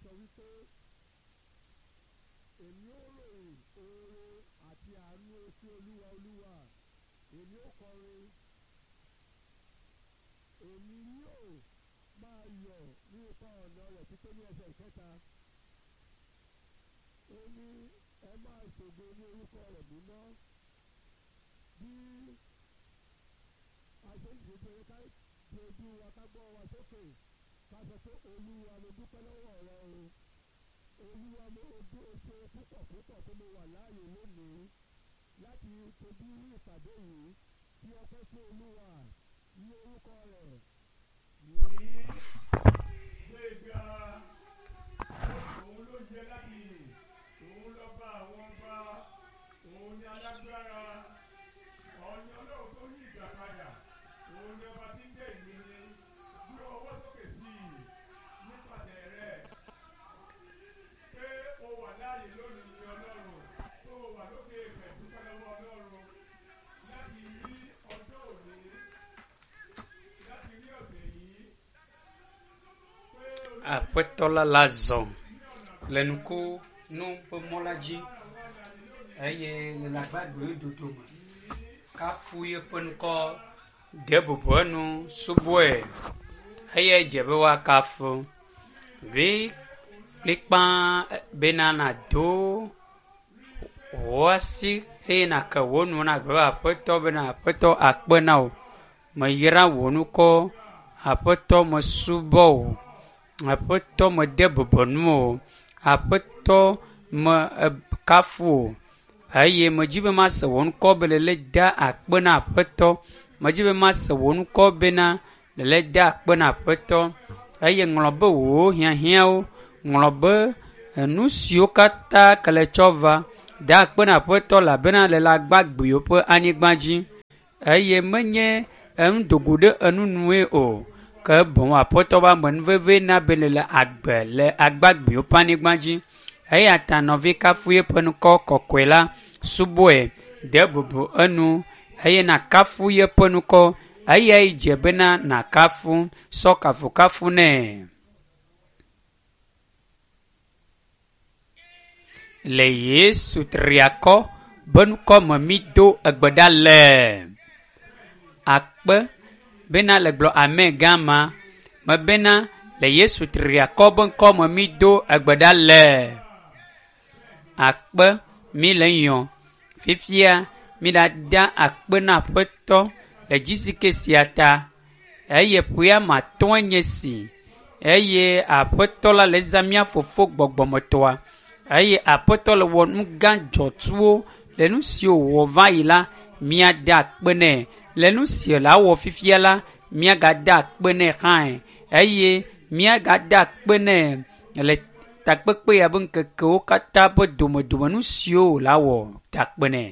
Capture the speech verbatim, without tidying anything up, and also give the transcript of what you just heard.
sọ wípé èmi ó ròyìn oore àti àánú sí olúwa olúwa èmi ó kọrin èmi yóò máa yọ̀ ní ipa ọ̀nà rẹ̀ pípé ní ẹsẹ̀ ìkẹta ó ní ẹ máa ṣògo ní orúkọ rẹ̀ mímọ́ bí a ṣe ń dìde ká di ojú wa ká gbọ́ wa sókè ká sọ pé olúwa mo dúpẹ́ lọ́wọ́ rẹ o olúwa mo ojú oṣù púpọ̀ púpọ̀ tó mo wà láàyè lónìí láti fojú rí ìpàdé yìí kí ọpẹ́ fún olúwa ní orúkọ rẹ̀. Yìí gbéga òun ló yẹ láti yìn òun lọ́ba àwọn ọba òun ni alágbára òun ni ọlọ́run tó yí ìgbà padà òun ni ọba tí ń jẹ́ ìmí ni gbé ọwọ́ sókè sí i nípasẹ̀ rẹ̀ pé o wà láàyè lónìí ní ọlọ́run tó o wà lókè èèpẹ̀ dúpẹ́ lọ́wọ́ ọlọ́run láti rí ọjọ́ òní láti rí ọ̀sẹ̀ yìí pé Aƒetɔ la le azɔ le nuku nu ƒe mɔ la dzi eye le agbagbewo dodome. Kafu yeƒe ŋkɔ, de bubu enu, subɔe eye dze be woakafu. Vi kplikpa bena nàdo wò asi eye nàke wò nu nagblɔ be aƒetɔ bena aƒetɔ akpe na wò. Meyra wò ŋkɔ, aƒetɔ mesubɔ wò. Aƒetɔ mede bubu ŋuwò. Aƒetɔ me ekafu wò eye medzi be mase wò ŋkɔ be lele da akpe na aƒetɔ. Medzi be mase wò ŋkɔ bena lele da akpe na aƒetɔ eye ŋlɔ be wò hiahiãwo, ŋlɔ be enu siwo katã ke le tsɔ va da akpe na aƒetɔ elabena le agbagbewo ƒe anyigba dzi eye menye enu dogo ɖe enu nue o ke boŋ aƒetɔ ƒe amenuveve na be le agbe le agbagbewo ƒe anyigba dzi eya ta nɔvi kafu yeƒe ŋkɔ kɔkɔe la subɔe de bubu enu eye nàkafu yeƒe ŋkɔ eyae dze bena nàkafu sɔ kafukafu nɛ. Le Yesu triakɔ be ŋkɔ me mído egbe ɖa le. Akpe bena le gblɔ amen gã ma me bena le Yesu triakɔ be ŋkɔ me mído egbe ɖa le. Akpe mi le yɔ. Fifia mi ɖada akpe na aƒetɔ le dzisike sia ta eye ƒea me atɔ̃e nye si eye aƒetɔ la le zã mía fofo gbɔgbɔmetɔa eye aƒetɔ le wɔ nu gã dzɔtsuwo le nu siwo wòwɔ va yi la míada akpe nɛ le nu si le awɔ fifia la míagada akpe nɛ hãe eye míagada akpe nɛ le takpekpe ya be ŋkekewo katã ƒe domedome nu siwo wòle awɔ da akpe nɛ.